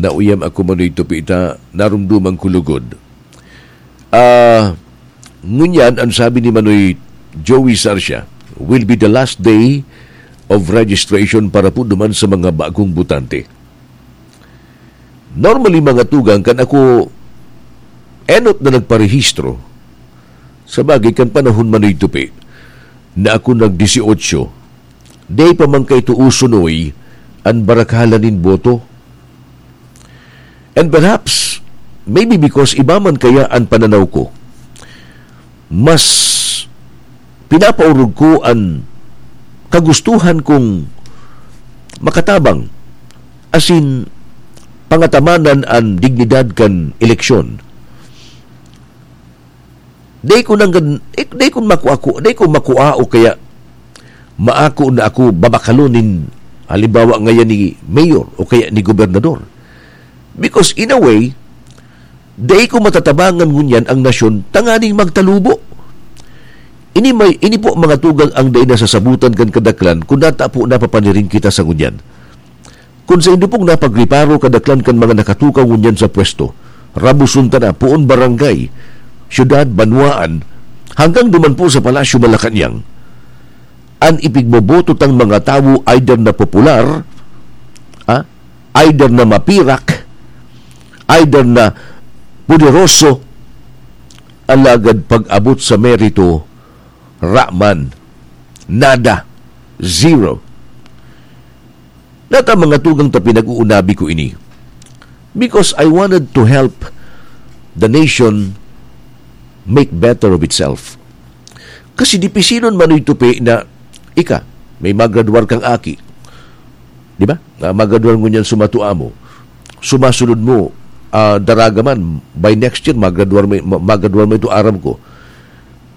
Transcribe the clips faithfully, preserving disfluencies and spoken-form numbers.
Nauyam ako, Manoy Tupi, ta narumduman ko lugod. Ah, ngunyan, ang sabi ni Manoy Joey Sarsia, will be the last day of registration para po duman sa mga bagong botante. Normally, mga tugang, kan ako enot na nagparehistro, sa bagay, kan panahon, Manoy Tupi, na ako nag-dieciocho, di pa man kay tuusonoy an barakalan nin boto. And perhaps, maybe because iba man kaya an pananaw ko, mas pinapaorog ko an kagustuhan kong makatabang, asin pangatamanan an dignidad kan eleksyon. Dai ko nang gan-, eh, dai ko makuha ko, dai ko makuha o kaya maako na ako babakalon nin, halimbawa, ngayon ni mayor o kaya ni gobernador. Because in a way, dai ko matatabangan ngunyan ang nasyon tanganing magtalubo. Ini may, ini po, mga tugang, ang dai nasasabutan kan kadaklan kun nata po napapaniring kita sa ngunyan. Kun saindo pong napagreparo, kadaklan kan mga nakatukaw ngunyan sa pwesto, rabuson ta na, poon barangay, syudad, banwaan, hanggang duman po sa Palasyo Malacañang, an ipigboboto tang mga tawo either na popular, ah, either na mapirak, either na poderoso, alagad pag-abot sa merito, raman, nada, zero. Nata, mga tugang, ta pinag-uunabi ko ini because I wanted to help the nation make better of itself. Kasi dipisilon, Manoy Tupi, na ika, may magradwar kang aki. Di ba? Na magradwar ngunyan sumatua mo. Sumasunod mo, ah, daraga man, by next year, magradwar mo, ma-, magradwar mo ito, aram ko.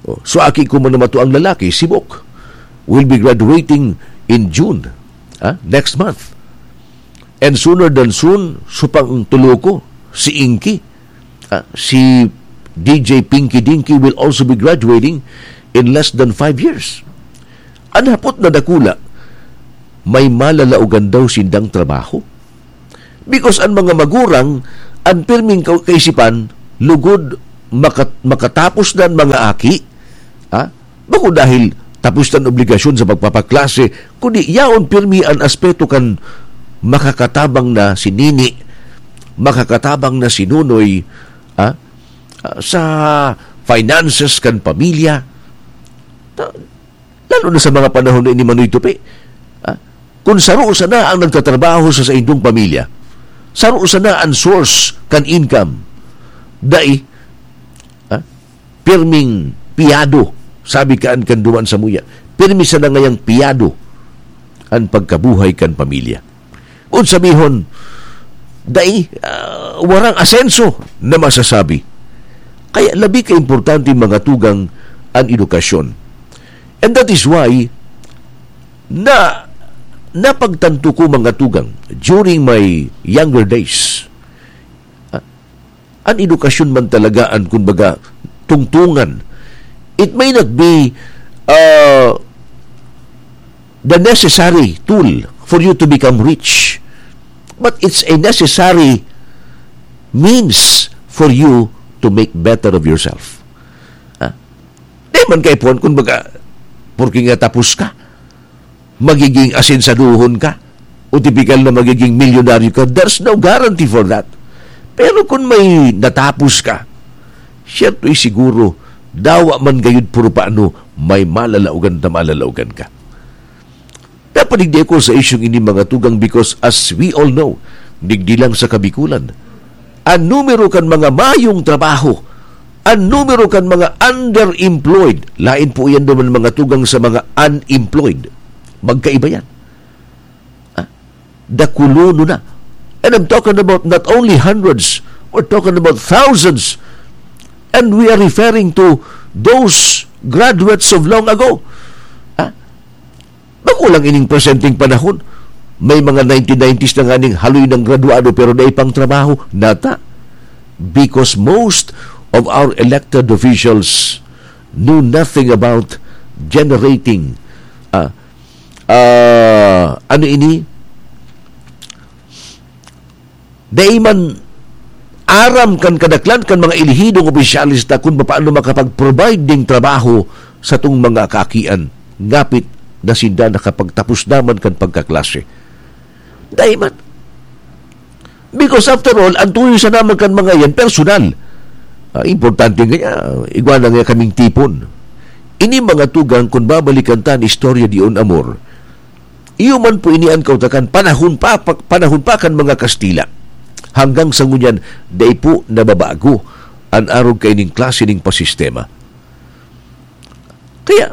Oh, so, aki ko man na matuang lalaki, si Bok, will be graduating in June, ah, next month. And sooner than soon, supang tulo ko, si Inky, ah, si D J Pinky Dinky will also be graduating in less than five years. An hapot na dakula, may malalaogan daw sindang trabaho. Because an mga magurang, an pirming ka-, kaisipan, lugod makat-, makatapos na an mga aki, ha? Bako dahil tapos na an obligasyon sa pagpapaklase, kundi yaon pirmi an aspeto kan makakatabang na si nini, makakatabang na si nonoy, ha? Ah, sa finances kan pamilya. Ta-, lalo na sa mga panahon na ini, Manoy Tupi. Ah, kun saro sana ang nagtatrabaho sa saindong pamilya, saro sana ang source kan income, dai, ah, pirming piyado, sabi kaan kan duman samuya, pirmi sana ngayang piyado an pagkabuhay kan pamilya. Kun sabihon, dai, ah, warang asenso na masasabi. Kaya labi ka importante, mga tugang, an edukasyon. And that is why na, napagtanto ko, mga tugang, during my younger days, ah, an edukasyon man talaga an, kumbaga, tungtungan. It may not be, ah, the necessary tool for you to become rich, but it's a necessary means for you to make better of yourself. Ha? Di man kay puon, kumbaga, porke nga tapos ka, magiging asensadohon ka, o tipikal na magiging milyonaryo ka. There's no guarantee for that. Pero kung may natapos ka, siyerto, eh, siguro, dawa man gayud puro paano, may malalaogan na malalaogan ka. Napadigdi ako sa isyong ini, mga tugang, because as we all know, digdi lang sa Kabikulan, ang numero kan mga mayong trabaho, ang numero kan mga underemployed, lain po yan naman, mga tugang, sa mga unemployed. Magkaiba yan. Ah, dakulono na. And I'm talking about not only hundreds, we're talking about thousands. And we are referring to those graduates of long ago. Ah, bako lang ining presenteng panahon. May mga nineteen nineties na nganing haloy ng graduado pero dai pang trabaho. Nata. Because most of our elected officials know nothing about generating, ah, ah, ano ini? Dai man aram kan kadaklan kan mga elihidong opisyales ta kun papaano makapag-provide ning trabaho satong mga kaakian, ngapit na sinda nakapagtapos naman kan pagkaklase. Dai man. Because after all, ang tuyo sa naman kan mga yan, personal. Ah, importante nga niya, igwa na nga kaming tipon. Ini mga tugang, kung babalikan ta ni istorya di on amor, iyo man po ini an kautakan, panahon pa, pa, panahon pa kan mga Kastila. Hanggang sa ngunyan, dai po nababago an arog kaining klase ning pasistema. Kaya,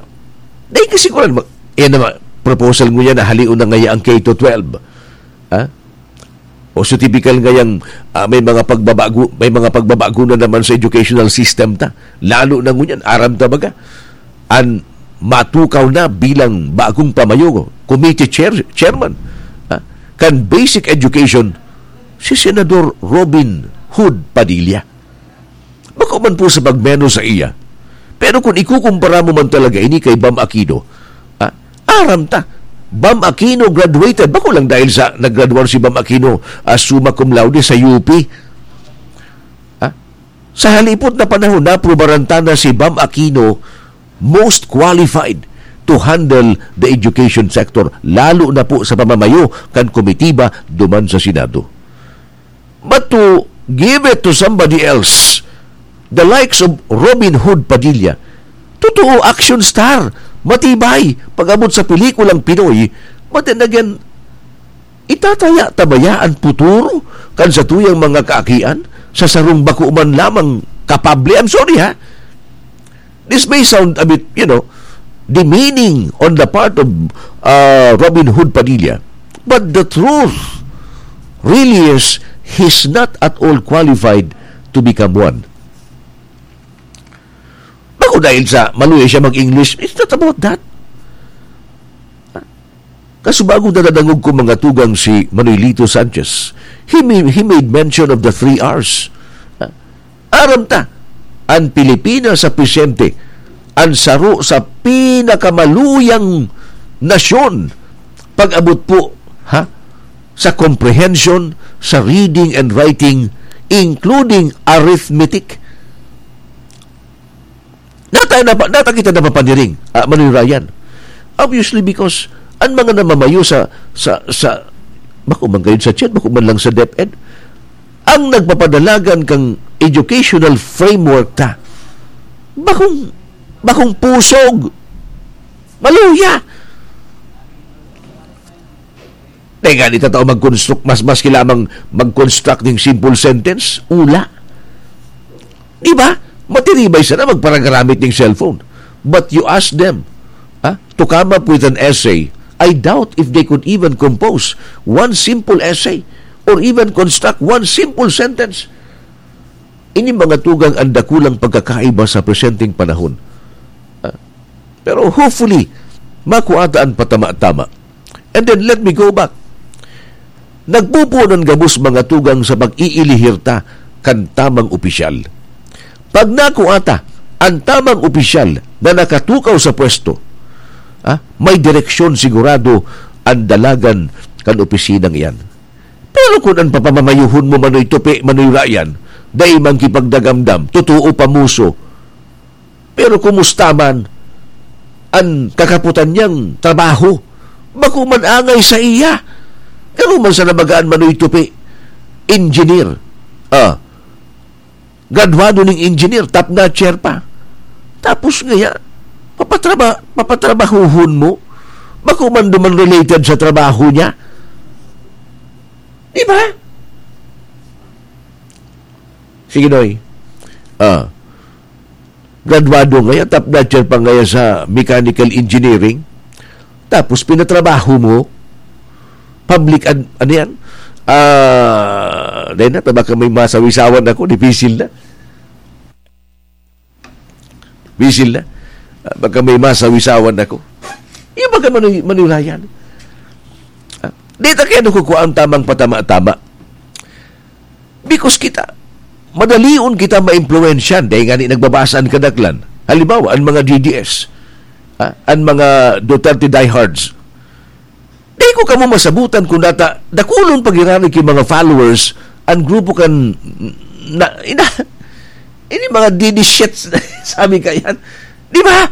dai kasiguran, ma-, yan naman, proposal ngunyan na halion na ngaya ang K to twelve. Ha? O so, typical ngayang, ah, may mga pagbabago, may mga pagbabago na naman sa educational system ta. Lalo na ngunyan, aram ta baga, an matukaw na bilang bagong pamayo, committee chair, chairman, ha? Kan basic education, si Senador Robin Hood Padilla. Bako man po sa pagmenos sa iya. Pero kung ikukumpara mo man talaga ini kay Bam Aquino, ah, aram ta, Bam Aquino graduated. Bako lang dahil sa naggraduar si Bam Aquino, ah, summa cum laude sa U P. Ah, sa halipot na panahon, naprubaran ta na si Bam Aquino most qualified to handle the education sector, lalo na po sa pamamayo kan komitiba duman sa Senado. But to give it to somebody else, the likes of Robin Hood Padilla, totoo, action star, matibay, pag-abot sa pelikulang Pinoy, but then again, itataya ta baya an futuro kan satuyang mga kaakian sa sarong bako man lamang kapable? I'm sorry, ha? This may sound a bit, you know, demeaning on the part of, uh, Robin Hood Padilla. But the truth really is, he's not at all qualified to become one. Bako dahil sa maluya siya mag-English, it's not about that. Kasubago, nadadangog ko, mga tugang, si Manuelito Sanchez. He ma-, he made mention of the three R's. Aram ta, an Pilipinas sa presente, an saro sa pinakamaluyang nasyon pag-abot po, ha, sa comprehension, sa reading and writing, including arithmetic. Nata, napa-, nata kita napapaniring, ah, Manoy Ryan. Obviously, because an mga namamayo sa, sa, sa, bako man gayod sa CHED, bako man lang sa DepEd, ang nagpapadalagan kang educational framework ta, bakong, bakong pusog, maluya. Dai ngani ta tao mag-construct, mas, maski lamang mag-construct ning simple sentence, ula. Di ba? Matiribay sana magparagaramit ning cellphone. But you ask them, ha, to come up with an essay, I doubt if they could even compose one simple essay or even construct one simple sentence. Ini mga tugang an dakulang pagkakaiba sa presenteng panahon. Ah, pero hopefully, makua ta an patama-tama. And then, let me go back. Nagpupuon an gabos, mga tugang, sa pag-iilihir ta kan tamang opisyal. Pag nakua ta an tamang opisyal na nakatukaw sa pwesto, ah, may direksyon sigurado an dalagan kan opisinang iyan. Pero kun an papamamayuhon mo, Manoy Tupi, Manoy Ryan, dai man kipagdagamdam, totoo, pamuso, pero kumusta man an kakapotan niyang trabaho? Bako man angay sa iya. Garo man sana baga an Manoy Tupi, engineer. Ah, graduado ning engineer, top notcher pa. Tapos ngaya, papatraba-, papatrabahuhon mo? Bako man duman related sa trabaho niya? Di ba? Sige, Noy. Ah, graduado ngaya, top notcher pa ngaya sa mechanical engineering. Tapos pinatrabaho mo, public ad-, ano yan? Ah, dahil na, baka may masawisawan ako, dipisil na. Bisil na. Ah, baka may masawisawan ako. Yung baka manu-, manulayan. Ah, di ta kaya nakukuha ang tamang patama-tama. Because kita, madalion kita maimpluwensyan. Dahil nga ni nagbabasa ang kadaklan. Halimbawa, ang mga D D S. Ah, ang mga Duterte diehards. Di ko kamo masabutan kung data, dakulon pagiraray ki mga followers ang grupo kan na, ina, ini mga didi shits, sabi ka yan. Di ba?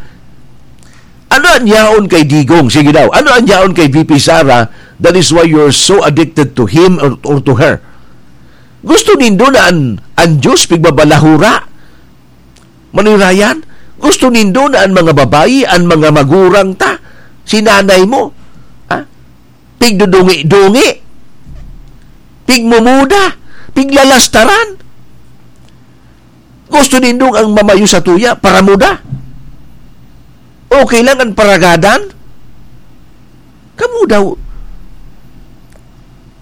Ano ang yaon kay Digong? Sige daw. Ano ang yaon kay V P Sara? That is why you're so addicted to him or, or to her. Gusto nindo na an, an Diyos pigbabalahura? Manoy Ryan? Gusto nindo na an mga babayi, an mga magurang ta? Si nanay mo? Ha? Pigdudungi-dungi? Pigmumuda? Piglalastaran? Gusto nindong ang mamayo sa tuya, paramuda? Okay lang ang paragadan? Kamo daw,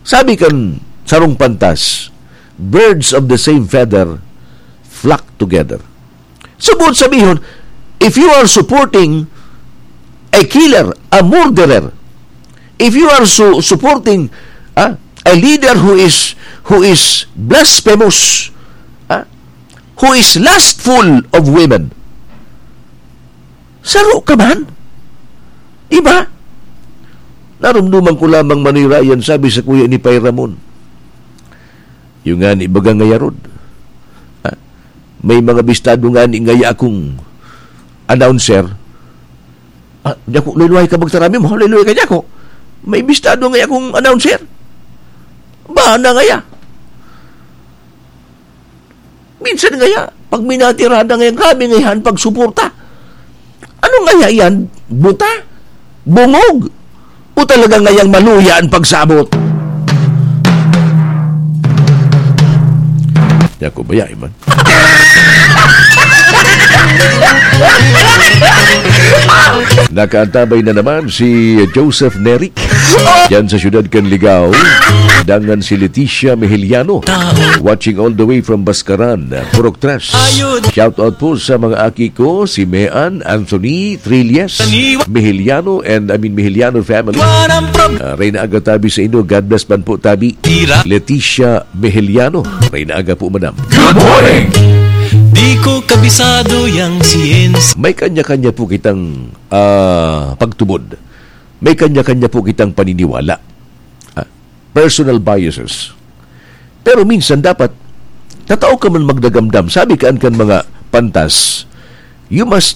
sabi kan sarong pantas, "Birds of the same feather flock together." Sa buot sabihon, if you are supporting a killer, a murderer, if you are su-, supporting, ah, a leader who is, who is blasphemous, ah, who is lustful of women, saro ka man. Di ba? Narumduman ko lamang, Manoy Ryan, sabi sa kuya ni Pay Ramon. Yung nga ni baga ngaya rod. Ah, may mga bistado nga ni ngaya akong announcer. Ah, di ako, luluhay ka magtarami mo, luluhay ka di ako. May bistado ngaya akong announcer. Ba na ngaya? Minsan ngaya, pag minatirada ngaya, grabe ngaya an pagsuporta. Ano ngaya yan? Buta? Bungog? O talaga ngayang maluya an pagsabot? Ako ba yan, man? Nakaantabay na naman si Joseph Neri. Yan sa siyudad kan Ligao, dangan si Leticia Mejeliano. Watching all the way from Bascaran, Purok Tres. Shout out po sa mga aki ko, si Mean, Anthony, Trillas, Mejeliano, and I mean Mejeliano family. Ah, Reyna Aga tabi sa inyo. God bless man po, tabi. Leticia Mejeliano. Reyna Aga po, madam. Good morning! Di ko kabisado yang science. May kanya-kanya po kitang, ah, pagtubod. May kanya-kanya po kitang paniniwala. Ah, personal biases. Pero minsan dapat, tatao ka man magdagamdam. Sabi kaan kan mga pantas, you must